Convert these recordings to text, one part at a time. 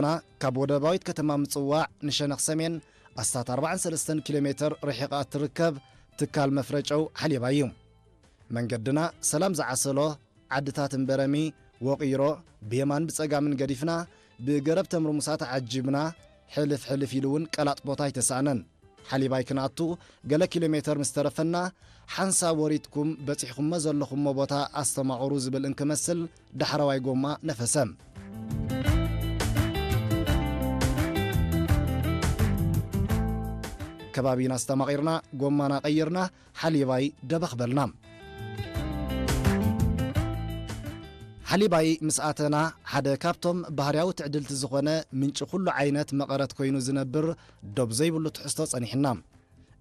ና ካብ ወደባዊት ከተማ ምጽዋዕ ንሸነኽ ሰሜን ኣስታት ኣርባዓን ሰለስተን ኪሎ ሜተር ርሒቓ እትርከብ ትካል መፍረ ጨው ሓሊባይ እዩ። መንገድና ሰላም ዝዓሰሎ ዓድታት እምበረሚ፣ ወቒሮ፣ ብየማን ብጸጋምን ገዲፍና፣ ብገረብ ተምርሙሳ ተዓጂብና፣ ሕልፍ ሕልፍ ኢሉ እውን ቀላጥ ቦታ ኣይተሳእነን። ሓሊባይ ክንኣቱ ገለ ኪሎ ሜተር ምስ ተረፈና፣ ሓንሳብ ወሪድኩም በጺሕኩሞ ዘለኹሞ ቦታ ኣስተማቕሩ ዝብል እንክመስል ዳሕረዋይ ጎማ ነፈሰ። ከባቢና ኣስተማቒርና፣ ጎማና ቀይርና፣ ሓሊባይ ደበኽ በልና። ሓሊባይ ምስ ኣተና፣ ሓደ ካብቶም ባህርያዊ ትዕድልቲ ዝኾነ ምንጪ ኩሉ ዓይነት መቐረት ኮይኑ ዝነብር ዶብ ዘይብሉ ትሕዝቶ ጸኒሕና።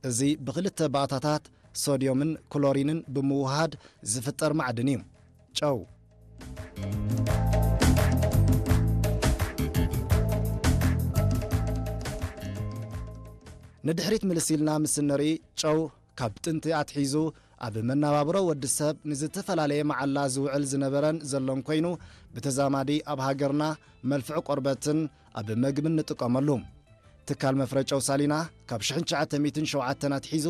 እዚ ብኽልተ ባእታታት ሶድዮምን ክሎሪንን ብምውሃድ ዝፍጠር ማዕድን እዩ። ጨው። ንድሕሪት ምልስ ኢልና ምስ እንርኢ፣ ጨው ካብ ጥንቲ ኣትሒዙ ኣብ መነባብሮ ወዲ ሰብ ንዝተፈላለየ መዓላ ዝውዕል ዝነበረን ዘሎን ኮይኑ፣ ብተዛማዲ ኣብ ሃገርና መልፍዒ ቆርበትን ኣብ መግብን ንጥቀመሉ። ትካል መፍረ ጨው ሳሊና ካብ ሽሕን ትሽዓተ ሚእትን ሸውዓተን ኣትሒዙ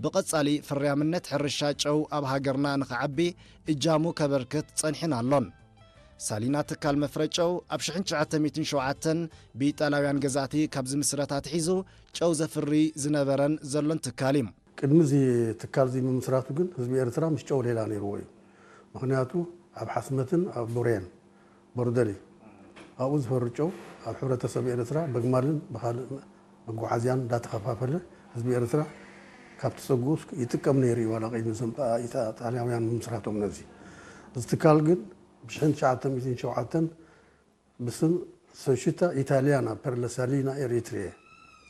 ብቐጻሊ ፍርያምነት ሕርሻ ጨው ኣብ ሃገርና ንኽዓቢ እጃሙ ከበርክት ጸኒሑን ኣሎን። ሳሊና ትካል መፍረ ጨው ኣብ ሽሕን ትሽዓተ ሚእትን ሸውዓተን ብኢጣልያውያን ገዛእቲ ካብ ዝምስረት ኣትሒዙ ጨው ዘፍሪ ዝነበረን ዘሎን ትካል እዩ። ቅድሚ እዚ ትካል እዚ ምምስራቱ ግን ህዝቢ ኤርትራ ምስ ጨው ሌላ ነይርዎ እዩ። ምኽንያቱ ኣብ ሓስመትን ኣብ ቡሬን፣ ቦርደሊ፣ ኣብኡ ዝፈሪ ጨው ኣብ ሕብረተሰብ ኤርትራ በግማልን ብኻልእ መጓዓዝያን እንዳተኸፋፈለ ህዝቢ ኤርትራ ካብቲ ጸግኡ ይጥቀም ነይሩ እዩ፣ ዋላ ቅድሚ እዞም ጣ-፣ ኢጣ-፣ ጣልያውያን ምምስራቶም ነዚ። እዚ ትካል ግን ብሽሕን ትሽዓተ ሚእትን ሸውዓተን ብስም ሶሽታ ኢታሊያና ፐር ለ ሳሊና ኤሪትሪየ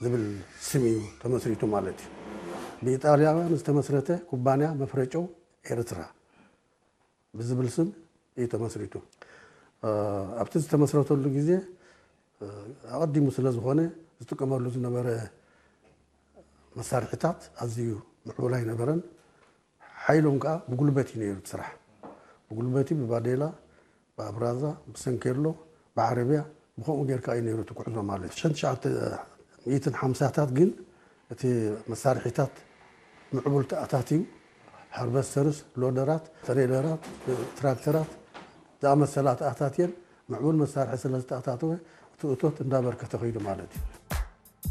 ዝብል ስም እዩ ተመስሪቱ ማለት እዩ። ብኢጣልያውያን ዝተመስረተ ኩባንያ መፍረ ጨው ኤርትራ ብዝብል ስም እዩ ተመስሪቱ። እ፣ ኣብቲ ዝተመስረተሉ ግዜ፣ እ፣ ኣቐዲሙ ስለ ዝኾነ ዝጥቀመሉ ዝነበረ መሳርሒታት ኣዝዩ ምዕቡል ኣይነበረን። ሓይሎም ከኣ ብጉልበት እዩ ነይሩ እቲ ስራሕ። ብጉልበት እዩ፣ ብባዴላ፣ ብኣብራዛ፣ ብሰንኬሎ፣ ብዓረብያ፣ ብኸምኡ ጌርካ እዩ ነይሩ እቲ ጉዕዞ ማለት እዩ። ሽሕን ትሽዓተ ሚእትን ሓምሳታት ግን እቲ መሳርሒታት ምዕቡል ተኣታትዩ፣ ሃርቨስተርስ፣ ሎደራት፣ ትሬለራት፣ ትራክተራት ዝኣመሰላ ተኣታትየን ምዕቡል መሳርሒ ስለ ዝተኣታተወ እቲ እቶት እንዳበርከተ ከይዱ ማለት እዩ።